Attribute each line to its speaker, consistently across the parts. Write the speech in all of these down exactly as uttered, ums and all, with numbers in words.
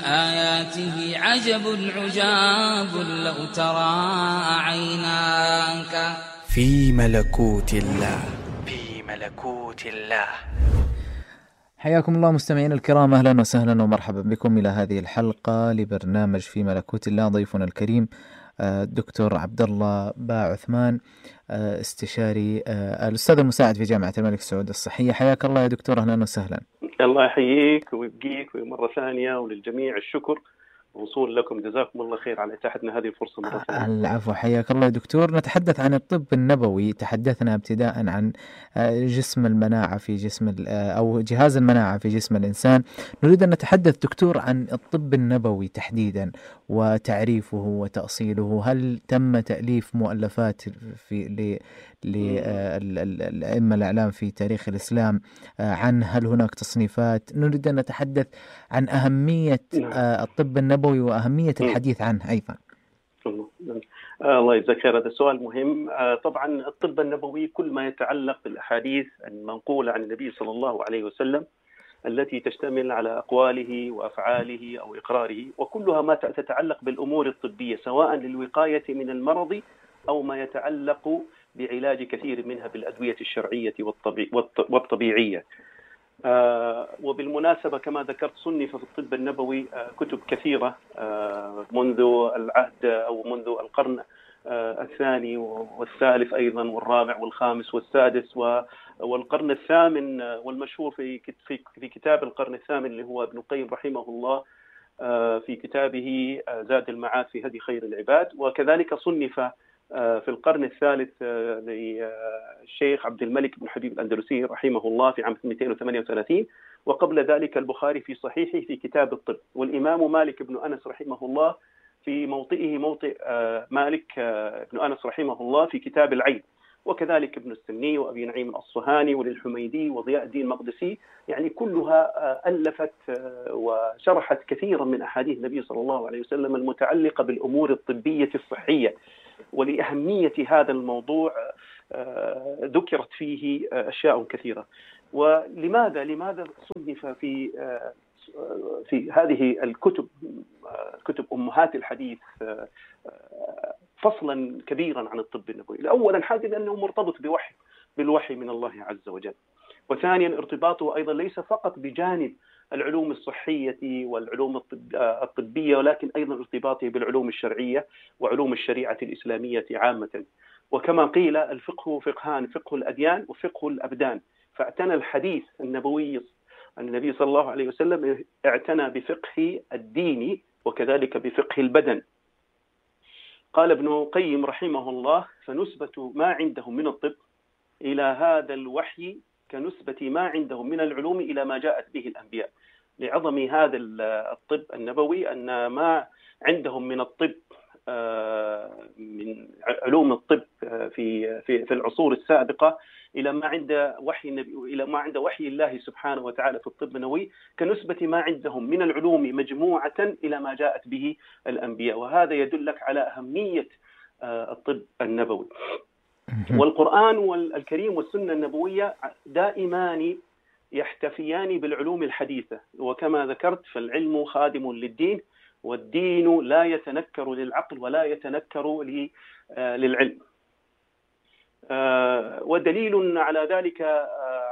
Speaker 1: آياته عجب عجاب لو ترى عيناك
Speaker 2: في ملكوت الله في ملكوت الله.
Speaker 3: حياكم الله مستمعين الكرام، أهلا وسهلا ومرحبا بكم إلى هذه الحلقة لبرنامج في ملكوت الله. ضيفنا الكريم الدكتور عبد الله با عثمان، استشاري الأستاذ المساعد في جامعة الملك سعود الصحية. حياك الله يا دكتور، أهلا وسهلا.
Speaker 4: الله يحييك ويبقيك مرة ثانية، وللجميع الشكر وصول لكم، جزاكم الله خير على إتاحتنا هذه الفرصة مرة ثانية.
Speaker 3: العفو، حياك الله يا دكتور. نتحدث عن الطب النبوي. تحدثنا ابتداء عن جسم المناعة في جسم أو جهاز المناعة في جسم الإنسان. نريد أن نتحدث دكتور عن الطب النبوي تحديدا وتعريفه وتأصيله. هل تم تأليف مؤلفات في للأئمة الأعلام في تاريخ الإسلام عن هل هناك تصنيفات؟ نريد أن نتحدث عن أهمية الطب النبوي وأهمية الحديث عنه أيضا.
Speaker 4: الله يجزاك خير، هذا سؤال مهم. طبعا الطب النبوي كل ما يتعلق بالأحاديث المنقولة عن النبي صلى الله عليه وسلم التي تشتمل على أقواله وأفعاله أو إقراره، وكلها ما تتعلق بالأمور الطبية سواء للوقاية من المرض أو ما يتعلق بعلاج كثير منها بالأدوية الشرعية والطبيعية. آه وبالمناسبة كما ذكرت صنف في الطب النبوي آه كتب كثيرة آه منذ العهد أو منذ القرن آه الثاني والثالث أيضا والرابع والخامس والسادس والقرن الثامن، آه والمشهور في في كتاب القرن الثامن اللي هو ابن القيم رحمه الله آه في كتابه آه زاد المعاد في هدي خير العباد. وكذلك صنف في القرن الثالث للشيخ عبد الملك بن حبيب الأندلسي رحمه الله في عام اثنين مئة وثمانية وثلاثين، وقبل ذلك البخاري في صحيحه في كتاب الطب، والإمام مالك بن أنس رحمه الله في موطئه موطئ مالك بن أنس رحمه الله في كتاب العين، وكذلك ابن السني وأبي نعيم الأصفهاني وللحميدي وضياء الدين المقدسي. يعني كلها ألفت وشرحت كثيرا من أحاديث النبي صلى الله عليه وسلم المتعلقة بالأمور الطبية الصحية. ولأهمية هذا الموضوع ذكرت فيه أشياء كثيرة. ولماذا لماذا صنف في في هذه الكتب كتب أمهات الحديث فصلا كبيرا عن الطب النبوي؟ أولا حاجة لأنه مرتبط بوحي بالوحي من الله عز وجل، وثانيا ارتباطه أيضا ليس فقط بجانب العلوم الصحية والعلوم الطبية، ولكن أيضا ارتباطه بالعلوم الشرعية وعلوم الشريعة الإسلامية عامة. وكما قيل الفقه فقهان، فقه الأديان وفقه الأبدان، فاعتنى الحديث النبوي النبي صلى الله عليه وسلم اعتنى بفقه الدين وكذلك بفقه البدن. قال ابن القيم رحمه الله: فنسبة ما عندهم من الطب إلى هذا الوحي كنسبة ما عندهم من العلوم إلى ما جاءت به الأنبياء. لعظم هذا الطب النبوي أن ما عندهم من الطب من علوم الطب في في في العصور السابقة إلى ما عند وحي النبي إلى ما عند وحي الله سبحانه وتعالى في الطب النبوي كنسبة ما عندهم من العلوم مجموعة إلى ما جاءت به الأنبياء. وهذا يدلك على أهمية الطب النبوي. والقرآن والكريم والسنة النبوية دائمان يحتفيان بالعلوم الحديثة، وكما ذكرت فالعلم خادم للدين، والدين لا يتنكر للعقل ولا يتنكر للعلم. ودليل على ذلك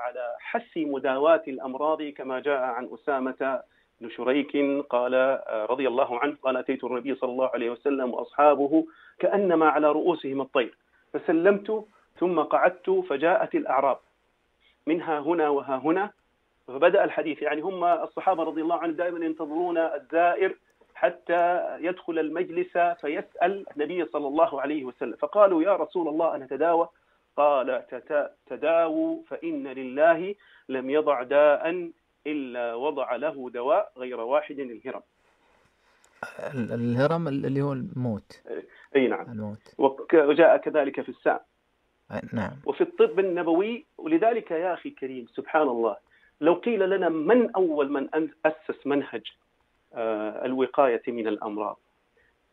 Speaker 4: على حث مداواة الأمراض كما جاء عن أسامة بن شريك قال رضي الله عنه قال: أتيت النبي صلى الله عليه وسلم وأصحابه كأنما على رؤوسهم الطير فسلمت ثم قعدت فجاءت الأعراب منها هنا وها هنا فبدأ الحديث. يعني هم الصحابة رضي الله عنهم دائما ينتظرون الزائر حتى يدخل المجلس فيسأل النبي صلى الله عليه وسلم، فقالوا: يا رسول الله أنا تداوى؟ قال: تداووا فإن لله لم يضع داء إلا وضع له دواء غير واحد الهرم.
Speaker 3: الهرم اللي هو الموت.
Speaker 4: أي نعم،
Speaker 3: الموت.
Speaker 4: وجاء كذلك في السام.
Speaker 3: نعم.
Speaker 4: وفي الطب النبوي. ولذلك يا أخي الكريم سبحان الله، لو قيل لنا من أول من أسس منهج آه الوقاية من الأمراض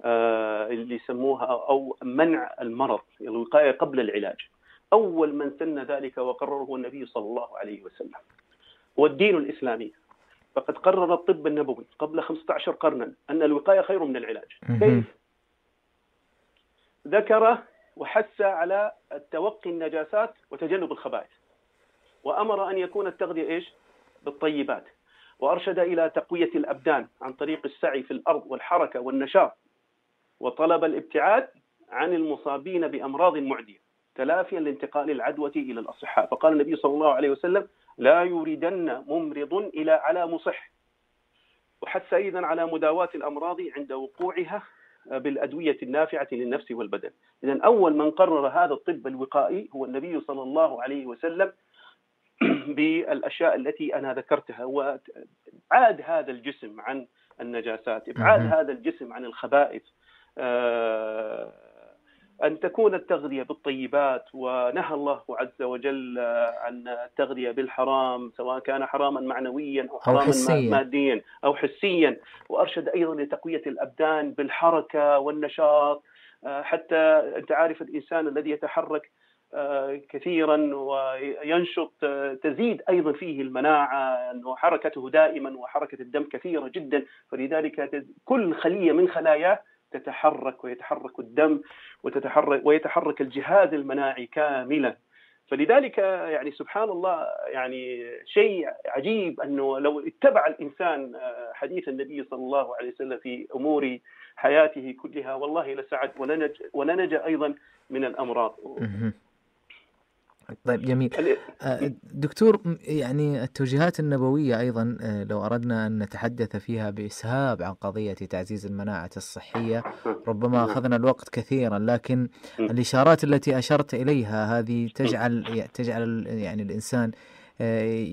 Speaker 4: آه اللي يسموها أو منع المرض، الوقاية قبل العلاج، أول من سن ذلك وقرره النبي صلى الله عليه وسلم والدين الإسلامي. فقد قرر الطب النبوي قبل خمسة عشر قرنا أن الوقاية خير من العلاج. كيف؟ ذكر وحث على التوقي النجاسات وتجنب الخبائث، وأمر أن يكون التغذية إيش؟ بالطيبات، وأرشد إلى تقوية الأبدان عن طريق السعي في الأرض والحركة والنشاط، وطلب الابتعاد عن المصابين بأمراض معدية تلافيا لانتقال العدوى إلى الأصحاء. فقال النبي صلى الله عليه وسلم: لا يوردن ممرض إلى على مصح. وحث أيضا على مداواة الأمراض عند وقوعها بالأدوية النافعة للنفس والبدن. إذن أول من قرر هذا الطب الوقائي هو النبي صلى الله عليه وسلم بالأشياء التي أنا ذكرتها، وإبعاد هذا الجسم عن النجاسات، إبعاد هذا الجسم عن الخبائث، أن تكون التغذية بالطيبات. ونهى الله عز وجل عن التغذية بالحرام، سواء كان حراما معنويا أو حراما أو ماديا أو حسيا. وأرشد أيضا لتقوية الأبدان بالحركة والنشاط، حتى أنت عارف الإنسان الذي يتحرك كثيرا وينشط تزيد أيضا فيه المناعة، أنه حركته دائما وحركة الدم كثيرة جدا، فلذلك كل خلية من خلاياه تتحرك، ويتحرك الدم وتتحرك ويتحرك الجهاز المناعي كاملا. فلذلك يعني سبحان الله، يعني شيء عجيب أنه لو اتبع الإنسان حديث النبي صلى الله عليه وسلم في أمور حياته كلها والله لسعد ولنج ولنجا أيضا من الأمراض.
Speaker 3: طيب جميل دكتور، يعني التوجيهات النبوية أيضا لو أردنا أن نتحدث فيها بإسهاب عن قضية تعزيز المناعة الصحية ربما أخذنا الوقت كثيرا، لكن الإشارات التي أشرت إليها هذه تجعل تجعل يعني الإنسان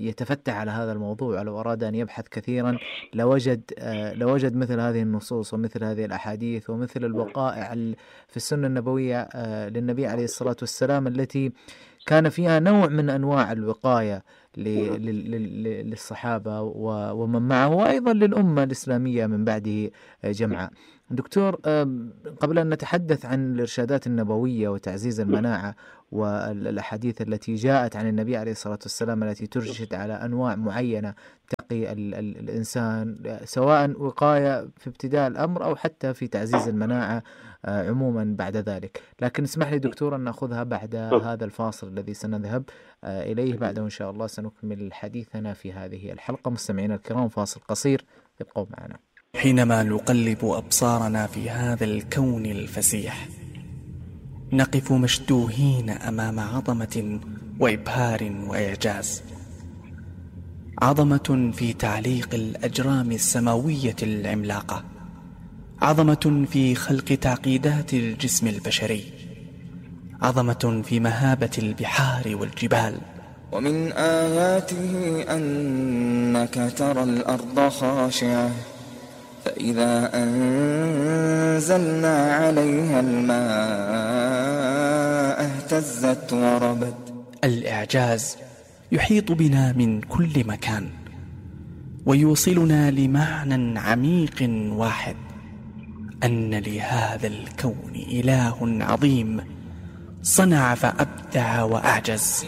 Speaker 3: يتفتح على هذا الموضوع. لو أراد أن يبحث كثيرا لوجد لوجد مثل هذه النصوص ومثل هذه الأحاديث ومثل الوقائع في السنة النبوية للنبي عليه الصلاة والسلام التي كان فيها نوع من أنواع الوقاية للصحابة ومن معه، وأيضا للأمة الإسلامية من بعده جمعاء. دكتور، قبل أن نتحدث عن الإرشادات النبوية وتعزيز المناعة والأحاديث التي جاءت عن النبي عليه الصلاة والسلام التي ترشد على أنواع معينة تقي الإنسان سواء وقاية في ابتداء الأمر أو حتى في تعزيز المناعة عموما بعد ذلك، لكن اسمح لي دكتور أن نأخذها بعد هذا الفاصل الذي سنذهب إليه. بعده إن شاء الله سنكمل حديثنا في هذه الحلقة. مستمعينا الكرام، فاصل قصير، ابقوا معنا.
Speaker 2: حينما نقلب أبصارنا في هذا الكون الفسيح نقف مشدوهين أمام عظمة وإبهار وإعجاز، عظمة في تعليق الأجرام السماوية العملاقة، عظمة في خلق تعقيدات الجسم البشري، عظمة في مهابة البحار والجبال.
Speaker 5: ومن آياته أنك ترى الأرض خاشعة فإذا أنزلنا عليها الماء اهتزت وربت.
Speaker 2: الإعجاز يحيط بنا من كل مكان ويوصلنا لمعنى عميق واحد، أن لهذا الكون إله عظيم صنع فأبدع وأعجز.